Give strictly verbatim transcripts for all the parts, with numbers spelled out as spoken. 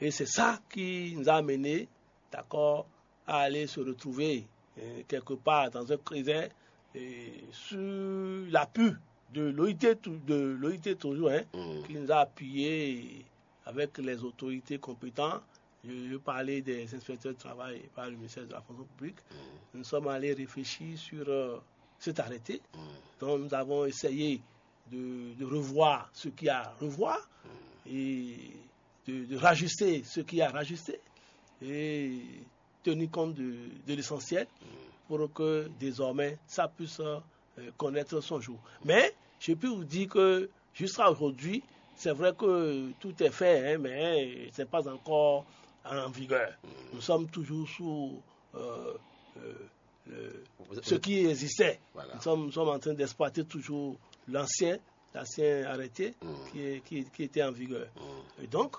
Et c'est ça qui nous a amené, d'accord, à aller se retrouver euh, quelque part dans un creuset euh, sur l'appui de l'O I T, tou- de l'O I T toujours, hein, qui nous a appuyés avec les autorités compétentes. Je, je parlais des inspecteurs de travail par le ministère de la fonction publique. Nous sommes allés réfléchir sur euh, cet arrêté. Donc nous avons essayé de, de revoir ce qu'il y a à revoir et de, de rajuster ce qu'il y a à rajuster et tenir compte de, de l'essentiel pour que désormais ça puisse euh, connaître son jour. Mais je peux vous dire que jusqu'à aujourd'hui, c'est vrai que tout est fait, hein, mais c'est pas encore en vigueur. Nous sommes toujours sous euh, euh, le- ce qui existait. Voilà. Nous sommes, nous sommes en train d'exploiter toujours l'ancien, l'ancien arrêté qui, est- qui- qui était en vigueur. Et donc,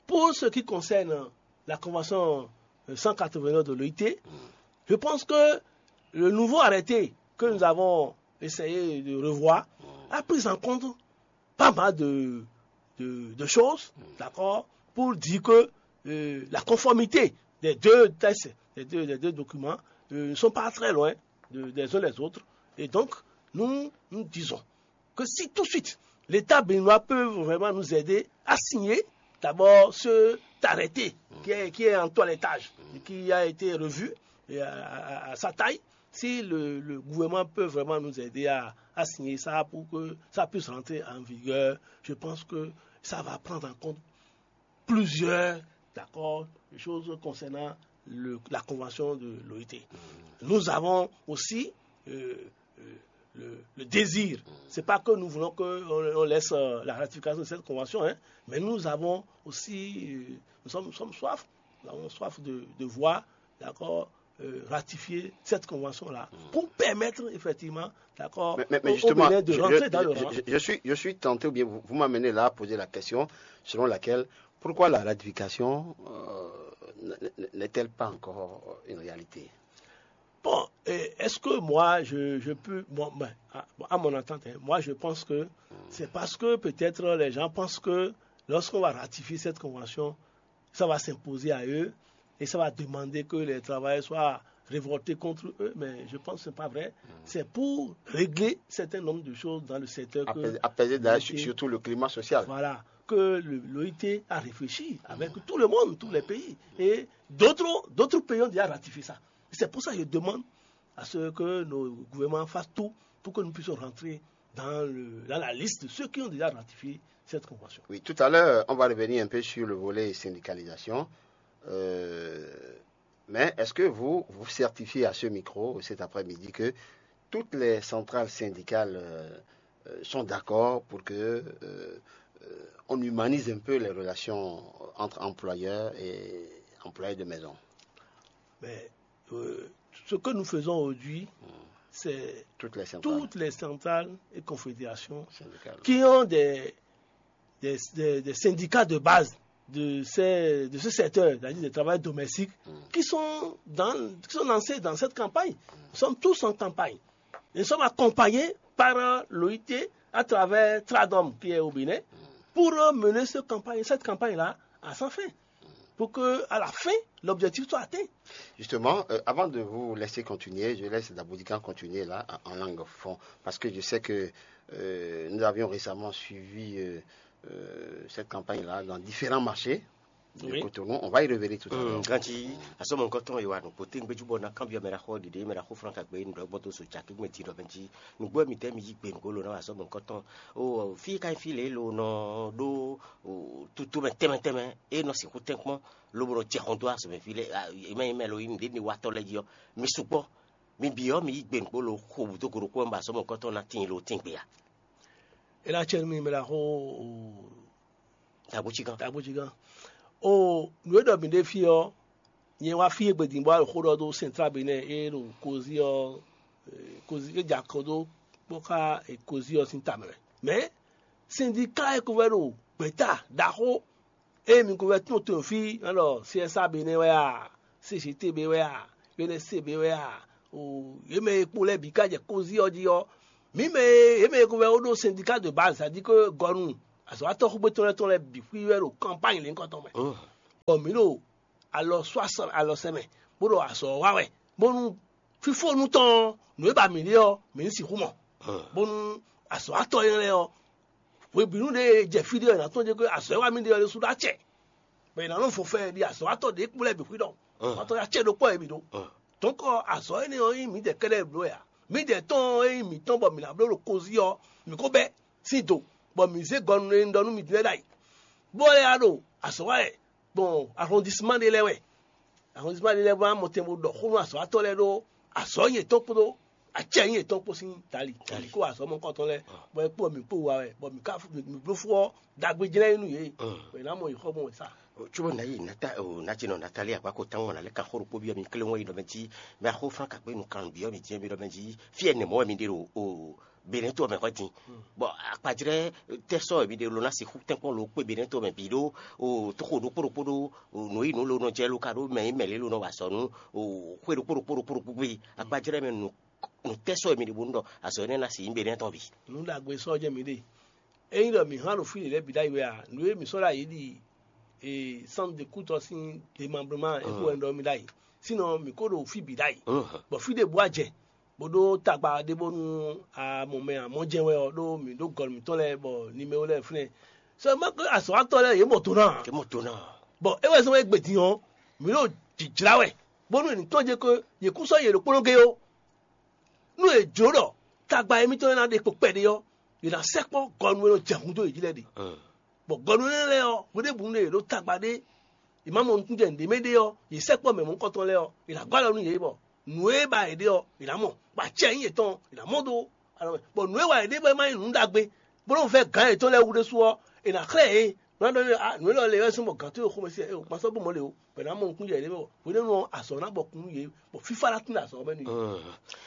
pour ce qui concerne la convention euh, cent quatre-vingt-neuf de l'O I T, je pense que le nouveau arrêté que nous avons essayé de revoir a pris en compte pas mal de, de- de choses, d'accord, pour dire que euh, la conformité des deux textes, des deux, des deux documents, euh, ne sont pas très loin de- des uns les autres. Et donc, nous, nous disons que si tout de suite l'État béninois peut vraiment nous aider à signer d'abord cet arrêté qui est, qui est en toilettage et qui a été revu et à, à- à sa taille, si le, le gouvernement peut vraiment nous aider à, à signer ça pour que ça puisse rentrer en vigueur, je pense que ça va prendre en compte plusieurs, d'accord, choses concernant le- la convention de l'O I T. Nous avons aussi euh, euh, le, le désir. C'est pas que nous voulons qu'on on laisse euh, la ratification de cette convention, hein, mais nous avons aussi, euh, nous sommes, nous sommes soif, nous avons soif de, de voir, d'accord, euh, ratifier cette convention-là pour permettre effectivement, d'accord, Mais, mais- mais au, au justement, Bénin de je, rentrer je- dans le je- rang. je- je suis, je suis tenté, ou bien vous, vous m'amenez là à poser la question selon laquelle, pourquoi la ratification euh, n- n- n'est-elle pas encore une réalité? Bon, et est-ce que moi, je, je peux, bon, ben, à, bon, à mon entente, hein, moi, je pense que c'est parce que peut-être les gens pensent que lorsqu'on va ratifier cette convention, ça va s'imposer à eux et ça va demander que les travailleurs soient révoltés contre eux, mais je pense que ce n'est pas vrai. C'est pour régler certains nombres de choses dans le secteur que Apaiser, apaiser d'ailleurs, l'O I T, surtout le climat social. Voilà, que le- l'O I T a réfléchi avec tout le monde, tous les pays. Et d'autres d'autres pays ont déjà ratifié ça. C'est pour ça que je demande à ce que nos gouvernements fassent tout pour que nous puissions rentrer dans, le- dans la liste de ceux qui ont déjà ratifié cette convention. Oui, tout à l'heure, on va revenir un peu sur le volet syndicalisation. Euh, mais est-ce que vous vous certifiez à ce micro cet après-midi que toutes les centrales syndicales euh, euh, sont d'accord pour que euh, euh, on humanise un peu les relations entre employeurs et employés de maison? Mais euh, ce que nous faisons aujourd'hui, c'est Toutes les centrales toutes les centrales et confédérations syndicales. Qui ont des, des, des- des syndicats de base de, ces- de ce secteur, c'est-à-dire des travailleurs domestiques, qui sont, dans, qui sont lancés dans cette campagne. Nous sommes tous en campagne. Nous sommes accompagnés par euh, l'O I T à travers Tradom qui est au Bénin pour euh, mener ce campagne, cette campagne-là à sa fin. Pour que, à la fin, l'objectif soit atteint. Justement, euh, avant de vous laisser continuer, je laisse Daboudikan continuer là, en, en langue fond, parce que je sais que euh, nous avions récemment suivi euh, euh, cette campagne-là dans différents marchés de Oui. Cotonou. On va y revenir tout à l'heure. Ganji, asɔmɔ nkɔtɔn yi wa nukpo te ŋgbɛju bɔ na kanbiɔ mɛ la xɔ ɖiɖe mɛ la xɔ fran kagbe nu ɖɔ gbɔto so caki gbɛ ti ɖɔ bɛnji nugbo mi tɛ mi yi gbe nugo lo na wa asɔmɔ nkɔtɔn o fi ka fi le lo nɔ ɖo o tutu mɛ tɛmɛ tɛmɛ e nɔ sixu tɛnkpɔn lobo nɔ jɛ xɔn do asɔmɛ fi le mɛ mɛ lo yi nu ɖe ni watɔ lɛ yi ɔ mi sukpɔ mi bi ɔ mi yi gbe nugo lo xo budo goro kpɔ ba asɔmɔ nkɔtɔn na tin lo tin gbe ya. E na cɛ mi mɛ la xɔ o Tabuchigan. Tabuchigan. O nǔ e ɖɔ mǐ ɖe fí ɔ́, nyɛ wá fí e gbedin bɔ alɔ xó ɖɔ dó sɛntrá Benɛ́ɛ e ɖo kozi ɔ́, kozi e jɛ akɔ dó kpɔ́ xá kozi ɔ́ sín tamɛ mɛ. Mɛ̌ sɛndika e ko vɛ́ ɖo gbɛ̌ta ɖaxó e mi ko vɛ́ tún to fí nɔ ɖɔ C S A Benɛ́ɛ wɛ a, C G T B wɛ a, U N S C B wɛ a, o yě mɛ e kpo lɛ́ɛ bǐ ka jɛ kozi ɔ́ jí ɔ́, mǐ mɛ e yě mɛ e ko vɛ́ ɖó sɛndika de baz, c'est-à-dire que gɔnu azɔ̌watɔ́ xúgbé tɔn lɛ́ɛ tɔn lɛ́ɛ bǐ xwí wɛ ɖo kanpány lěhunkɔtɔn mɛ. bɔ mǐ ɖo alɔ sɔ́ alɔ sɛ mɛ, bó ɖo azɔ̌ wa wɛ, bónú fífónú tɔn ɔ́, nǔ e ba mǐ ɖe ɔ́, mǐ ní sixú mɔ, bónú azɔ̌watɔ́ énɛ́ lɛ́ɛ ɔ́, hwebǐnu ɖé e jɛ fí ɖé ɔ́, è nǎ tɔ́n jɛ azɔ̌ e wá mì ɖe ɔ́ ɖésú ɖó acɛ, bɔ è nǎ nɔ fɔn fɛ ɖi azɔ̌watɔ́ ɖěbǔ lɛ́ɛ bǐ xwí ɖɔ azɔ̌watɔ́ acɛ ɖokpó wɛ mǐ ɖó. Dɔ̌nkɔ azɔ̌ énɛ́ ɔ́ nyí mǐdɛɛ kɛ́ɖɛ́ bló wɛ ǎ. Mǐdɛɛ tɔn e nyí mǐtɔn bɔ mǐ ná bló ɖo kozí ɔ́, mǐ ko bɛ́ sín do, bɔ mǐ zé gɔnu e un ɖɔ nú mi din lɛ́ɛ ɖ'ayǐ, bó lɛ́ wá ɖo azɔ̌ wa wɛ gbɔn ahɔndisima ɖé lɛ́ɛ wɛ. Ahɔndisima ɖé lɛ́ɛ wá mɔtɛn bó ɖɔ xó nú azɔ̌watɔ́ lɛ́ɛ ɖó azɔ̌ yětɔn kpódó acɛ yětɔn kpó sín tali. Tali kó azɔ̌ mɔkɔtɔn lɛ́ɛ, bɔ é kpó mǐ kpó wa wɛ, bɔ mǐ ka mǐ bló fú ɔ́, ɖagbe jlɛ́n nú yě, bɔ è nǎ mɔ yě xɔ gbɔn wɛ sa. Cóbɔ nǎ yi nata o nati nɔ natali akpa ko tán ŋɔ nalɛ kan xó ɖokpó byɔ́ mi klé ŋɔ yi ɖɔ mɛ jí mɛ axó fán kakpé nu kan byɔ́ mi jɛ́n mi ɖɔ mɛ jí fí ɛnɛ mɔ̌ wɛ mi ɖe ɖo o benɛ́ to mɛ hwɛ din. Bɔ akpajlɛ́ tɛ́ sɔ́ wɛ mi ɖe lo ná sixú tɛ́nkpɔ́n lo kpé benɛ́ to mɛ bǐ ɖó o tóxo ɖokpó ɖokpó ɖó o nǔ yi nǔ lo nɔ jɛ lo ka ɖó mɛ yi mɛ lě lo nɔ wa azɔ̌ nú o xwé ɖokpó ɖokpó ɖokpó ɖokpó gbé akpajlɛ́ mɛ nu nu tɛ́ sɔ́ wɛ mi ɖe bónú ɖɔ azɔ̌ énɛ́ ná si nyí benɛ́ tɔn bǐ. Nǔ ɖagbe sɔ́ jɛ mi ɖe. Ényí ɖɔ mǐ hán ɖo fí lě lɛ́ɛ bǐ ɖ'ayǐ wɛ a, nǔ e mǐ sɔ́ ɖ'ayǐ ɖi e sánnu de kútɔ sín demablement é kó wɛ un ɖɔ mì ɖ'ayǐ. Sínɔ mǐ kó ɖo fí bǐ ɖ'ayǐ. Bɔ fí ɖěbǔ a jɛ bó ɖó tagba ɖé bónú a mɔ mɛ a mɔ jɛ́n wɛ ɔ́ ɖó mǐ ɖó gɔ̌n mǐtɔn lɛ́ɛ bɔ nimɛwo lɛ́ɛ fínɛ́. Sɔ ma azɔ̌watɔ́ lɛ́ɛ yě mɔ do ná ǎ. Yě mɔ do ná. Bɔ é wɛ zɔ́n wɛ gbe din ɔ́, mǐ ɖo jǐjlá wɛ bónú è nǐ tɔ́n jɛ ko yě kún sɔ́ yě ɖokpónɔ gé ó. Nú è jlǒ ɖɔ tagba émítɔn e ná ɖe kpo kpɛɖé ɔ́, è nǎ sɛkpɔ́ gɔnu e nɔ jɛ hun dó yě jí lɛ́ɛ ɖe. Bɔ gɔnu énɛ́ lɛ́ɛ ɔ́, hweɖěbǔ nú è ɖǒ tagba ɖé, è má mɔ nukúnjɛ nǔɖé mɛ ɖé ɔ́, yě sɛkpɔ́ mɛ mɔ̌hunkɔtɔn lɛ́ɛ ɔ́, è nǎ gɔ́ alɔ nú yě, bɔ nǔ e ba yě ɖe ɔ́, è nǎ mɔ, bɔ acɛ nyí yětɔn ɔ́, è nǎ mɔ dó alɔ mɛ. Bɔ nǔ e wa yě ɖe bɔ é má nyí nǔ ɖagbe, bó nɔ́ vɛ́ gǎn yětɔn lɛ́ɛ wú ɖésú ɔ́, è nǎ xlɛ́ yě. Nǔ e ɖɔ lě wɛ sín bɔ gǎn towe xomɛ sí ɛ, ma sɔ́ bó mɔ̌ lě o. Bɔ è nǎ mɔ nukúnjɛ yě ɖé bɔ hwenɛ́nu ɔ́, azɔ̌ ná bɔ kún nú yě, bɔ fífá ná tín azɔ̌ ɔ́ mɛ nú yě.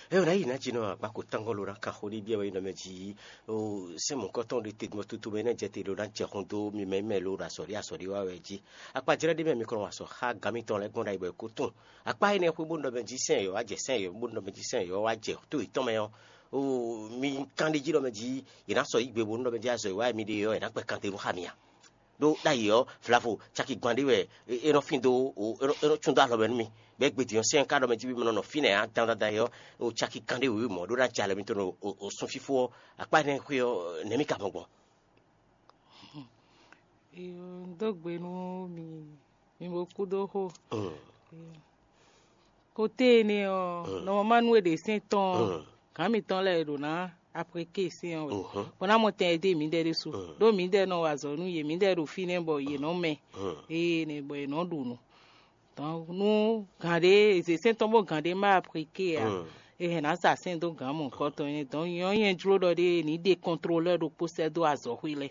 Ɛ ɔ́, ná yi ná jí nɔ akpa ko tángbɔ́ ló ná ka xó ɖé byɔ́ wɛ nɔ mɛ jí o sɛ́n mɔ̌kɔtɔn ɖé te gbɔn tutu mɛ nɛ́ jɛ te ɖó ná jɛ xɔn dó mi mɛ mɛ ló ɖo azɔ̌ ɖé azɔ̌ ɖé wá wɛ jí. Akpa jlɛ́ ɖé mɛ mi kɔ nɔ azɔ̌ xá gǎn mitɔn lɛ́ɛ gbɔn ɖ'ayǐ bɔ è kó tún. Akpa énɛ́ xwé bó nɔ mɛ jí sɛ́n yɔ̌ wá jɛ sɛ́n yɔ̌ bó nɔ mɛ jí sɛ́n yɔ̌ wá jɛ tó yětɔn mɛ ɔ́, o mi kán ɖé jí nɔ mɛ jí yě ná sɔ́ yí gbe bó nɔ mɛ jí azɔ̌ e wá mi ɖe ɔ́, è nǎ kpɛ kan te nú xá mi a? Ɖó ɖ'ayǐ ɔ́, vlavo caki gbán ɖé wɛ é nɔ fín dó, é nɔ cún dó alɔ mɛ nú mì. Bɔ é gbe din ɔ́, sɛ́n ka ɖɔ mɛ jí mì nɔ nɔ fínɛ́ ǎ dandan ɔ́, o caki kan ɖé wěwé mɔ̌ ɖó ná jɛ alɔ mitɔn ɖo o sun fífó ɔ́, akpá énɛ́ xwé ɔ́, nɛ̌ mì ka mɔ gbɔn? Dó gbe nú mi, mi bo kú dó xo. Kote énɛ́ ɔ́, nɔmɔmá nú è ɖe sɛ́n tɔn ɔ́, gǎn mǐtɔn lɛ́ɛ è ɖǒ ná apréké sɛ́n ɔ́ wɛ, bɔ ná mɔ tɛn e dó mǐdɛɛ ɖésú. Ɖó mǐdɛɛ nɔ wa azɔ̌ nú yě, mǐdɛɛ ɖo fínɛ́ bɔ yě nɔ mɛ, ée nɛ bɔ yě nɔ ɖu nǔ. Dɔn nú gǎn ɖé è zě sɛ́n tɔn bó gǎn ɖé má apréké ǎ, è hɛn ná sa sɛ́n dó gǎn mɔ̌hunkɔtɔn nyɛ. Dɔn nyɛ ɔ́, nyɛ jló ɖɔ ɖé ní ɖe kɔntlolɛ́ ɖokpó sɛ́ dó azɔ̌xwé lɛ́ɛ.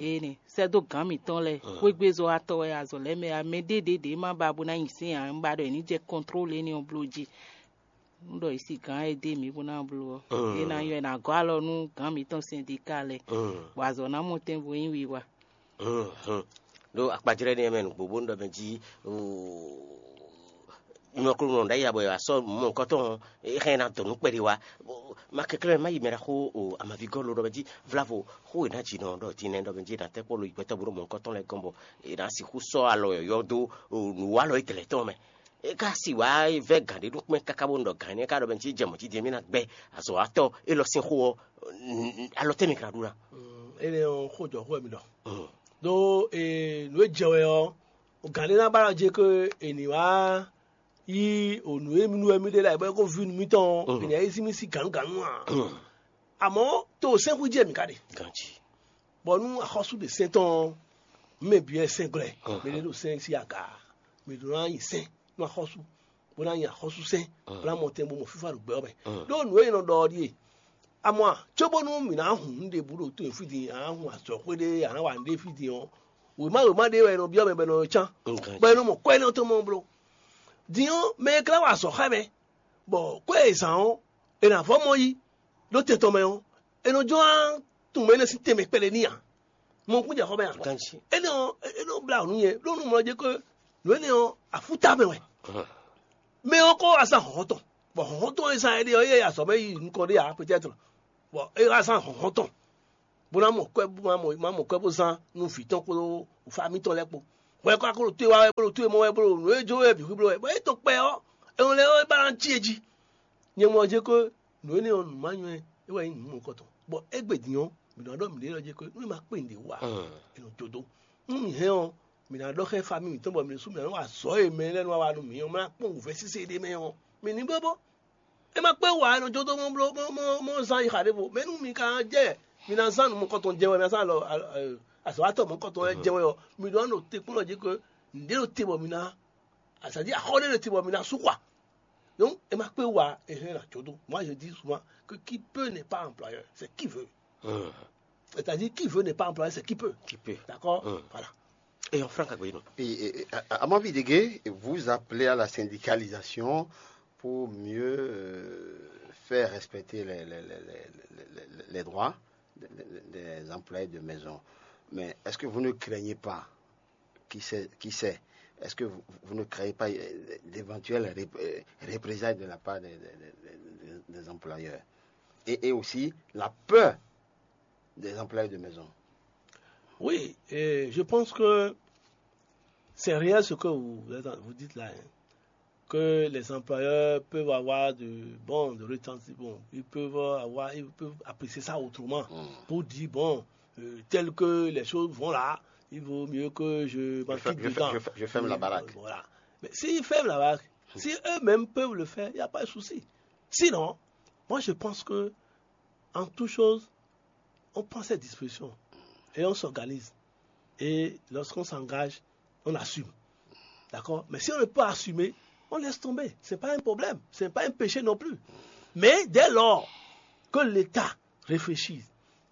Énɛ́ sɛ́ dó gǎn mǐtɔn lɛ́ɛ, xwégbezɔ́watɔ́ wɛ azɔ̌ lɛ́ɛ mɛ ǎ, mɛ ɖé ɖě ɖě ma ba bó ná nyi sɛ́n ǎ, un ba ɖɔ è ní jɛ kɔntlóle énɛ́ ɔ́ bló jí. Un ɖɔ è si gǎn e dé mǐ bó ná bló ɔ́, é ná nyɔ́ è nǎ gɔ́ alɔ nú gǎn mǐtɔn sɛndika lɛ́ɛ, bɔ azɔ̌ ná mɔ tɛn bo nyí wiwa. Ɖó akpajlɛ́ nɛ́ mɛ nǔgbó bó nɔ mɛ jí, nyɔ̌klúnɔ ɖ'ayǐ bɔ è wǎ sɔ́ mɔ̌hunkɔtɔn ɔ́, é hɛn ná dɔn nǔ kpɛɖé wá. Ma kɛnklɛ́n má yi mɛ ɖaxó o amavígɔ́ ló ɖɔ mɛ jí vlavo xó e ná jǐ nɔ ɖɔ din nɛ́ ɖɔ mɛ jí è nǎ tɛ́ kpɔ́ lo yi gbɛtɔ́ bó ɖo mɔ̌hunkɔtɔn lɛ́ɛ gɔ́n bɔ è nǎ sixú sɔ́ alɔ yɔ̌yɔ́ dó nǔwalɔ e tɛlɛ̌ tɔn mɛ. É ka si wǎ vɛ́ gǎn ɖé nú kpɛ́n káká bó ɖɔ gǎn énɛ́ ká ɖɔ mɛ jí jɛ mɔ̌ jí din mì ná gbɛ́ azɔ̌watɔ́ élɔ́ sín xó ɔ́, alɔ tɛ́ mɛ ka ná ɖu ná? Énɛ́ ɔ́, xó jɔ̌xó wɛ mi ɖɔ. Ɖó nǔ e jɛ wɛ ɔ́, gǎn ɖé ná ba ɖɔ jɛ ko è nǐ wá yí nǔ e nú wɛ mì ɖe lɛ́ɛ bɔ é ko ví nú mítɔn ɔ́, è nǐ yí sí mì sí gǎnugǎnu ǎ. Amɔ̌ to sɛ́nxú jɛ mǐ ka ɖe. Ganjí. Bɔ nú axɔ́sú ɖe sɛ́n tɔn ɔ́, mɛ bǐ wɛ sɛ́n glɔ́ ɛ. Mɛ ɖé ɖo sɛ́n sín aga, mɛ ɖó ná nyi sɛ́n nú axɔ́sú, bó ná nyi axɔ́súsɛ́n, bó ná mɔ tɛn bó mɔ fífá ɖo gbɛ ɔ́ mɛ. Ɖó nǔ e è nɔ ɖɔ ɔ́ ɖíe: Amɔ̌ a, cóbónú mǐ ná hun nǔ ɖěbǔ ɖo to e fí din, a nǎ hun azɔ̌xwé ɖé, a nǎ wa nǔɖé fí din ɔ́, wěma wěma ɖé wɛ è nɔ byɔ́ mɛ bɔ è nɔ cán, bɔ è nɔ mɔ kwɛ́ énɛ́ tɔn mɔ bló. Din ɔ́, mɛ e ka ná wa azɔ̌ xá mɛ, bɔ kwɛ́ e è zǎn ɔ́, è nǎ vɔ́ mɔ yí ɖó tɛn tɔn mɛ ɔ́, è nɔ jló ná tunwun mɛ énɛ́ sín tɛnmɛ kpɛɖé n'i ǎ. Mɔ kún jɛ xɔ mɛ a? Ganjí. Énɛ́ ɔ́, é nɔ blá nǔ nyɛ, ɖó nú mɔ jɛ ko nǔ énɛ́ ɔ́, afúta mɛ wɛ. Mɛ ɔ́ kó wá zán hlɔ̌nhlɔ́n tɔn, bɔ hlɔ̌nhlɔ́n tɔn e zán éɖée ɔ́, é yɛ azɔ̌ mɛ yi nukɔn ɖé ǎ, peut-être. Bɔ é wá zán hlɔ̌nhlɔ́n tɔn, bó ná mɔ kwɛ́, bó ná mɔ, má mɔ kwɛ́ bó zán nú vǐ tɔn kpódó fámí tɔn lɛ́ɛ kpó. Bɔ é kɔ akó ɖo towe wá wɛ, bó ɖo towe mɔ wɛ, bó ɖo nǔ e jó wɛ bǐ xwíbló wɛ, bɔ é tɔn kpɛ ɔ́, é nɔ lɛ́ wá é ba ná cí e jí. Nyɛ mɔ ɔ́ jɛ ko nǔ énɛ́ ɔ́ nǔ ma nyɔ́ ɛ, é wɛ nyí nǔ mɔ̌kɔtɔn. Bɔ égbé din ɔ́, mǐ nɔ ɖɔ mǐɖée lɔ jɛ ko nú è ma kpé nǔɖé wú ǎ, è nɔ jó dó. Nú mǐ hɛn ɔ́, mǐ ná ɖɔ xá famíi mǐtɔn bɔ mǐ ɖésú mǐ ná nɔ wa azɔ̌ e mɛ lɛ́ɛ nɔ wa wa nú mǐ ɔ́, mǐ ná kpɔ́n wǔvɛ́ sésé ɖé mɛ ɔ́, mǐ ní bó bó. É ma kpé wǎ, è nɔ jó dó mɔ bló mɔ mɔ mɔ zán yi xa ɖěvo. Mɛ nú mi ka jɛ mi ná zán nǔ mɔkɔtɔn jɛ wɛ, mi ná zán alɔ azɔ̌watɔ́ mɔkɔtɔn lɛ́ɛ jɛ wɛ ɔ́, mi ɖó ná ɖo te kplɔ́n jí ke nǔɖé ɖo te bɔ mi ná, c'est-à-dire axɔ́ ɖé ɖo te bɔ mi ná sú xwa. Donc, é ma kpé wǎ, é hɛn ná jó dó. Moi, je dis souvent que qui peut n'est pas employeur, c'est qui veut. C'est-à-dire, qui veut n'est pas employeur, c'est qui peut. Qui peut. D'accord. Voilà. Et en franc, Agboyino. Et, et, et, à, à mon avis, Dégué, vous appelez à la syndicalisation pour mieux euh, faire respecter les, les, les, les, les- les- les droits des, des- des employés de maison. Mais est-ce que vous ne craignez pas, qui sait, qui sait, est-ce que vous, vous ne craignez pas euh, d'éventuelles rép- euh, représailles de la part des, des- des- des- des employeurs et, et aussi la peur des employés de maison? Oui, et je pense que c'est réel ce que vous, vous dites là, hein, que les employeurs peuvent avoir de, bon, de retentis, bon, ils peuvent avoir, ils peuvent apprécier ça autrement pour dire, bon, euh, tel que les choses vont là, il vaut mieux que je m'enquille dedans. Je, je ferme la baraque. Voilà. Mais s'ils ferment la baraque, si eux-mêmes peuvent le faire, il n'y a pas de souci. Sinon, moi je pense que en toute chose, on prend ses dispositions et on s'organise. Et lorsqu'on s'engage, on assume. D'accord? Mais si on ne peut pas assumer, on laisse tomber. Ce n'est pas un problème, ce n'est pas un péché non plus. Mais dès lors que l'État réfléchit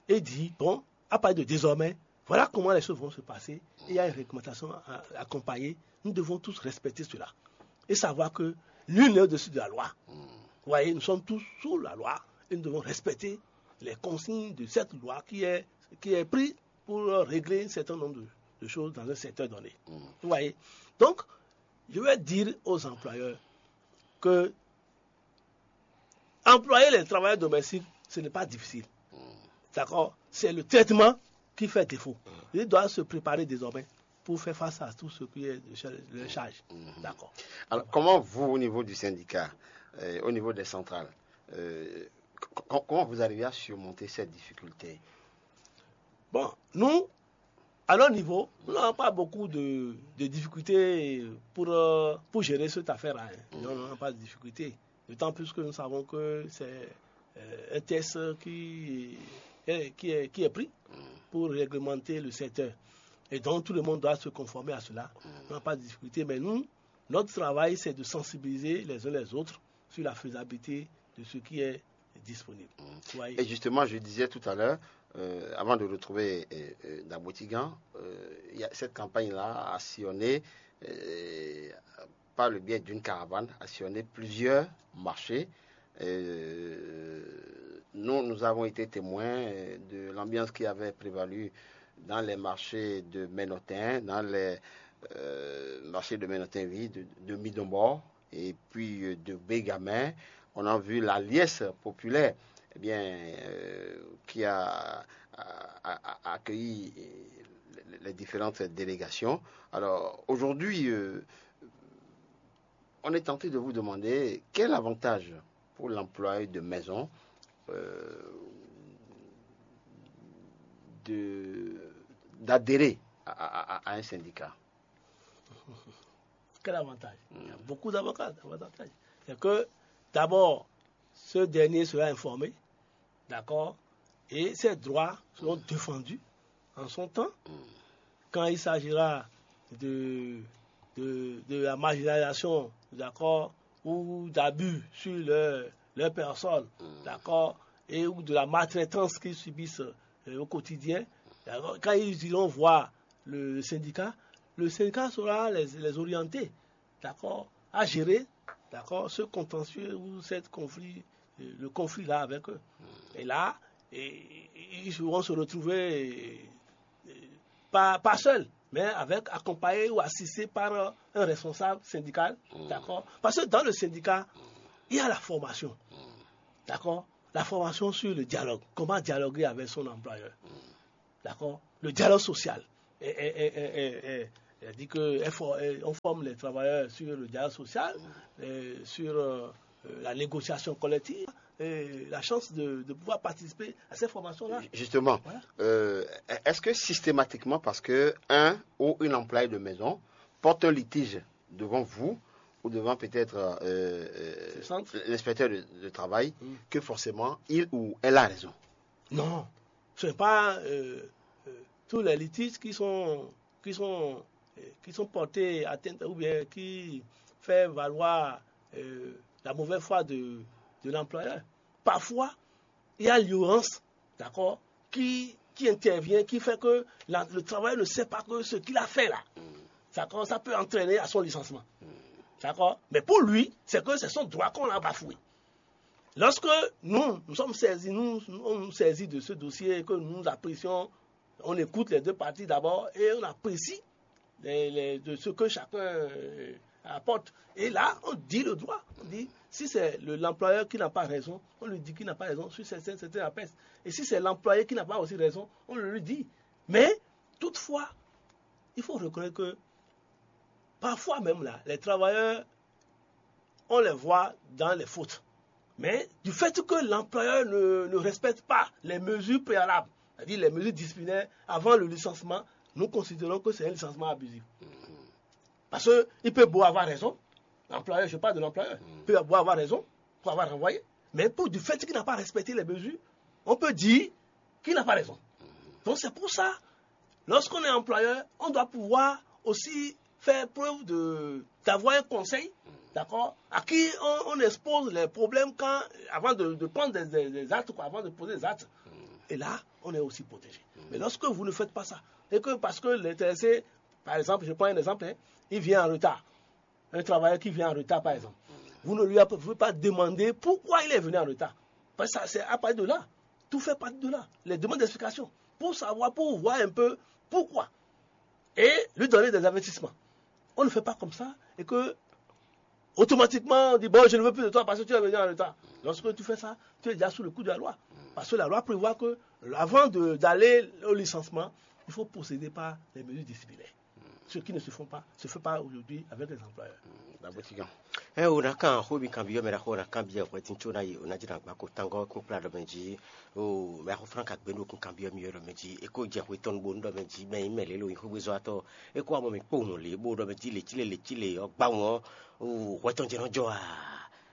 et dit, bon, à partir de désormais, voilà comment les choses vont se passer, il y a une réglementation à accompagner, nous devons tous respecter cela et savoir que nul n'est au-dessus de la loi. Vous voyez, nous sommes tous sous la loi et nous devons respecter les consignes de cette loi qui est, qui est prise pour régler un certain nombre de, de choses dans un secteur donné. Vous voyez? Donc, je vais dire aux employeurs que employer les travailleurs domestiques, ce n'est pas difficile. D'accord? C'est le traitement qui fait défaut. Ils doivent se préparer désormais pour faire face à tout ce qui est de leur charge. D'accord. Alors, comment vous, au niveau du syndicat, euh, au niveau des centrales, euh, comment vous arrivez à surmonter cette difficulté? Bon, nous, à notre niveau, nous n'avons pas beaucoup de, de difficultés pour, euh, pour gérer cette affaire-là. Hein. Nous n'avons pas de difficultés. D'autant plus que nous savons que c'est euh, un texte qui est, qui, est, qui est pris pour réglementer le secteur. Et donc tout le monde doit se conformer à cela. On n'a pas de difficulté, mais nous, notre travail, c'est de sensibiliser les uns les autres sur la faisabilité de ce qui est disponible. Et justement, je disais tout à l'heure, euh, avant de retrouver euh, euh, Dabotigan, euh, il y a cette campagne-là a sillonné euh, par le biais d'une caravane, a sillonné plusieurs marchés. Euh, nous, nous avons été témoins de l'ambiance qui avait prévalu dans les marchés de Menotin, dans les euh, marchés de Menotin, oui, de, de Midombo et puis euh, de Bégamin. On a vu la liesse populaire eh bien, euh, qui a, a- a- a- accueilli euh, les, les différentes délégations. Alors, aujourd'hui, euh, on est tenté de vous demander quel avantage pour l'employé de maison euh, de d'adhérer à, à- à- à un syndicat. Quel avantage? Il y a beaucoup d'avantages. D'avantages. C'est que, d'abord, ce dernier sera informé, d'accord? Et ses droits seront défendus en son temps. Quand il s'agira de, de, de la marginalisation, d'accord, ou d'abus sur leur, leur personne, d'accord, et ou de la maltraitance qu'ils subissent euh, au quotidien, d'accord, quand ils iront voir le syndicat, le syndicat saura les, les orienter, d'accord, à gérer, d'accord, ce contentieux ou cette conflit, euh, le conflit là avec eux. Et là, et- et- ils vont se retrouver euh, pas, pas seuls, mais avec accompagnés ou assistés par euh, un responsable syndical, d'accord. Parce que dans le syndicat, il y a la formation, d'accord. La formation sur le dialogue, comment dialoguer avec son employeur, d'accord. Le dialogue social, et- et- et- et- et- C'est-à-dire que on forme les travailleurs sur le dialogue social, euh, sur euh, la négociation collective, et la chance de, de pouvoir participer à ces formations-là. Justement, euh, est-ce que systématiquement, parce que un ou une employée de maison porte un litige devant vous ou devant peut-être euh, euh, l'inspecteur de, de travail, que forcément il ou elle a raison? Non, ce n'est pas euh, euh, tous les litiges qui sont, qui sont, euh, qui sont portés atteinte ou bien qui fait valoir euh, la mauvaise foi de, de l'employeur. Parfois, il y a l'ignorance, d'accord, qui, qui intervient, qui fait que la- le travailleur ne sait pas que ce qu'il a fait là, d'accord, ça peut entraîner à son licenciement. D'accord? Mais pour lui, c'est que c'est son droit qu'on l'a bafoué. Lorsque nous, nous sommes saisis, nous, nous, on nous saisit de ce dossier et que nous apprécions, on écoute les deux parties d'abord et on apprécie les- les- de ce que chacun euh, apporte. Et là, on dit le droit. On dit, si c'est le- l'employeur qui n'a pas raison, on lui dit qu'il n'a pas raison sur certains, certains aspects. Et si c'est l'employé qui n'a pas aussi raison, on le lui dit. Mais, toutefois, il faut reconnaître que parfois même là, les travailleurs, on les voit dans les fautes. Mais du fait que l'employeur ne, ne respecte pas les mesures préalables, c'est-à-dire les mesures disciplinaires avant le licenciement, nous considérons que c'est un licenciement abusif. Parce qu'il peut beau avoir raison, l'employeur, je parle de l'employeur, peut beau avoir raison pour avoir renvoyé, mais pour du fait qu'il n'a pas respecté les mesures, on peut dire qu'il n'a pas raison. Donc c'est pour ça, lorsqu'on est employeur, on doit pouvoir aussi faire preuve de d'avoir un conseil, d'accord, à qui on, on expose les problèmes quand, avant de, de prendre des, des- des actes, quoi, avant de poser des actes. Et là, on est aussi protégé. Mais lorsque vous ne faites pas ça, et que parce que l'intéressé, par exemple, je prends un exemple, hein, il vient en retard, un travailleur qui vient en retard, par exemple, vous ne lui pouvez pas demander pourquoi il est venu en retard. Parce que ça, c'est à partir de là. Tout fait partie de là. Les demandes d'explication. Pour savoir, pour voir un peu pourquoi. Et lui donner des avertissements. On ne fait pas comme ça et que automatiquement on dit, bon, je ne veux plus de toi parce que tu es venu en retard. Lorsque tu fais ça, tu es déjà sous le coup de la loi. Parce que la loi prévoit que avant de- d'aller au licenciement, il faut procéder par les mesures disciplinaires. Ce qui ne se font pas, se fait pas aujourd'hui avec les employeurs. Ɛ o ná kan xó mi kanbyɔ́ mɛ ɖaxó ná kanbyɔ́ hwɛtín có ná yi o ná jɛ ná gba ko tangɔ kún kplá ɖɔ mɛ jí. O mɛ axó fúnra ka gbé ɖo kún kanbyɔ́ mi ɖɔ mɛ jí. E ko jɛ xwe tɔn bo ɖɔ mɛ jí mɛ yi mɛ lě lo yi xógbézɔ́watɔ́. E ko amɔ mi kpó hùn lě bó ɖɔ mɛ jí lě cí lě lě cí lě ɔ́ gbá wọn ɔ́. O hwɛ tɔn jɛ nɔ jɔ a?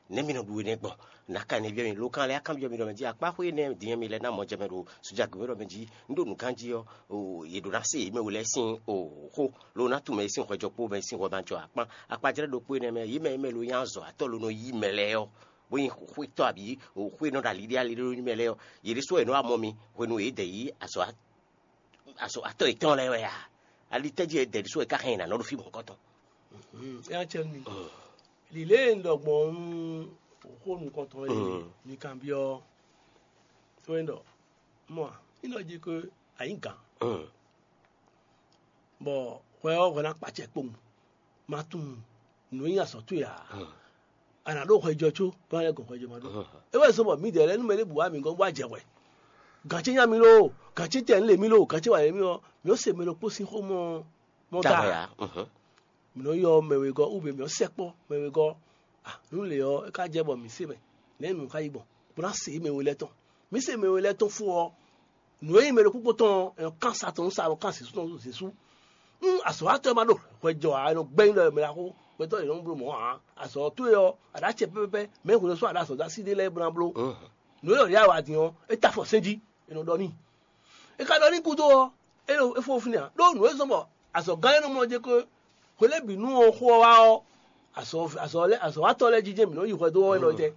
Nɛ̌ mi nɔ ɖu énɛ́ gbɔn? Nǎ ka nɛ́ byɔ́ mi, lo kan lɛ́ɛ á kanbyɔ́ mi ɖɔ mɛ jí akpá xwé énɛ́ din mi lɛ́ ná mɔ jɛ mɛ ɖo sójà gěmɛ ɖɔ mɛ jí. Un ɖo nǔ ganjí ɔ́, yě ɖo ná se yě mɛ we lɛ́ɛ sín xó, lo ná tunwun mɛ e sín hwɛjɔ kpó mɛ e sín hwɛ ma jɔ akpán. Akpajlɛ́ ɖokpó énɛ́ mɛ, yě mɛ e mɛ lo nyí azɔ̌ atɔ́ lo nɔ yí mɛ lɛ́ɛ ɔ́, bó nyí xwétɔ́ abǐ xwé nɔ ɖo aliɖé aliɖé nú mɛ lɛ́ɛ ɔ́, yě ɖésú wɛ nɔ wá mɔ mi hwenu e yě dɛ yí azɔ̌ atɔ́ yětɔn lɛ́ɛ wɛ a? Ali tɛ́ jí wɛ dɛ ɖésú wɛ ká hɛn yě ná nɔ ɖo fí mɔ̌hunkɔtɔn? Éyá cɛ mi. Lǐlé e un ɖɔ gbɔn nú xó nukɔntɔn e mi kanbyɔ́ ɔ́, é wɛ ɖɔ mɔ a? Ní ɖɔ jí ko ayǐ gǎn, bɔ hwɛ ɔ́ hwɛ ná kpa acɛ kpowun, ma tunwun nǔ e nyí azɔ̌ towe ǎ. A nǎ ɖó hwɛjɔ có bó ná lɛ́ gɔn hwɛjɔ ma ɖó. É wɛ zɔ́n bɔ mǐdɛɛ lɛ́ɛ nú mɛ ɖěbǔ wá mǐ gɔ́n bó wá jɛ hwɛ. Gǎn ce nya mì lo, gǎn ce tɛ lě mì lo, gǎn ce wǎ lě mì ɔ́, mǐ nɔ́ se mɛ ɖokpó sín xó mɔ mɔ da. Mǐ nɔ́ ylɔ́ mɛ wegɔ́, ou bien mǐ nɔ́ sɛkpɔ́ mɛ wegɔ́. Ah, nú lě ɔ́, é ka jɛ bɔ mǐ se mɛ, nɛ̌ nǔ ka yi gbɔn, bó ná se mɛ we lɛ́ɛ tɔn. Mǐ se mɛ we lɛ́ɛ tɔn fó ɔ́, nǔ e nyí mɛ ɖokpó tɔn, è nɔ kán sa tɔn nú sa, è nɔ kán zǐsú tɔn nú zǐsú. Nú azɔ̌watɔ́ e ma ɖo hwɛ jɔ ǎ, è nɔ gbɛ́ nyi ɖɔ mɛ ɖaxó, gbɛtɔ́ yě nɔ bló mɔ̌ ǎ. Azɔ̌ towe ɔ́, a ɖo acɛ pɛ́pɛ́pɛ́, mɛ e hwenu sɔ́ a ɖo azɔ̌ dó así ɖé lɛ́ɛ bó ná bló. Nǔ e ɖɔ ɖě a wa din ɔ́, é ta afɔ sɛ́n jí, è nɔ ɖɔ n'i. È ka ɖɔ n'i gúdo ɔ́, é ɖo é fó fínɛ́ ǎ. Ɖó nǔ e zɔ́n bɔ azɔ̌gán e nɔ mlɔ́ jɛ kó hwe lɛ́ɛ bǐ nú ɔ́ xó ɔ́ wá ɔ́, azɔ̌ azɔ̌ lɛ́ɛ azɔ̌watɔ́ lɛ́ɛ jijɛ mǐ nɔ yi hwɛ dó ɔ́ é nɔ jɛ.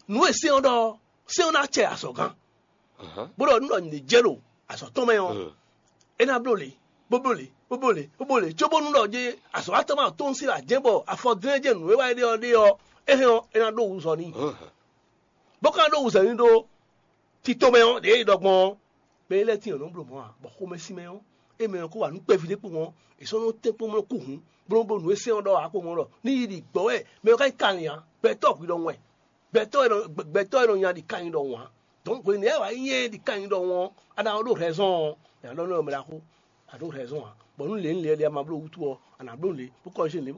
Nǔ e sɛ́n ɔ́ ɖɔ ɔ́, sɛ́n ɔ́ ná acɛ azɔ̌gán. Bó ɖɔ nú ɖɔ nyǐɖé jɛ ɖo azɔ̌ tɔn mɛ ɔ́, é ná bló lě, bó bló lě, bó bló lě, bó bló lě, cóbónú ɖɔ jɛ azɔ̌watɔ́ ma tɔ́n sín ajɛ̌ bɔ afɔ dlɛ́n jɛ nǔ e wá é ɖe ɔ́ ɖe ɔ́, é hɛn ɔ́, é ná ɖó wǔzɔ n'i. Bó ka ɖó wǔzɔ n'i ɖó tito mɛ ɔ́, ɖě e ɖɔ gbɔn ɔ́, mɛ e lɛ́ tín ɔ́ nɔ bló mɔ̌ ǎ, bɔ xomɛsin mɛ ɔ́, é mɛ ɔ́ kó wa nǔ kpɛví ɖé kpó mɔ̌, è sɔ́ nɔ tɛ́n kpó mɔ́ kú hǔn, bló bó nǔ e sɛ́n ɔ́ ɖɔ ǎ kpó mɔ̌ ɖɔ ní yi ɖi gbɔ̌ wɛ mɛ ɔ́ ká nyí kanlin ǎ, gbɛtɔ́ hwi ɖɔhun wɛ, gbɛtɔ́ e nɔ gbɛtɔ́ e nɔ nya ɖi kanlin ɖɔhun ǎ. Donc hwenɛ́ wǎ nyí ɛ ɖi kanlin ɖɔhun ɔ́, a nǎ ɖó hɛzɔ́n ɔ́, è nǎ ɖɔ nú ɔ́ mɛ ɖaxó. À ɖǒ raison ǎ. Bɔ nú lě nú lě ɔ́ ɖe a ma bló wútu ɔ́, a nǎ bló lě bó kɔ́ zé lě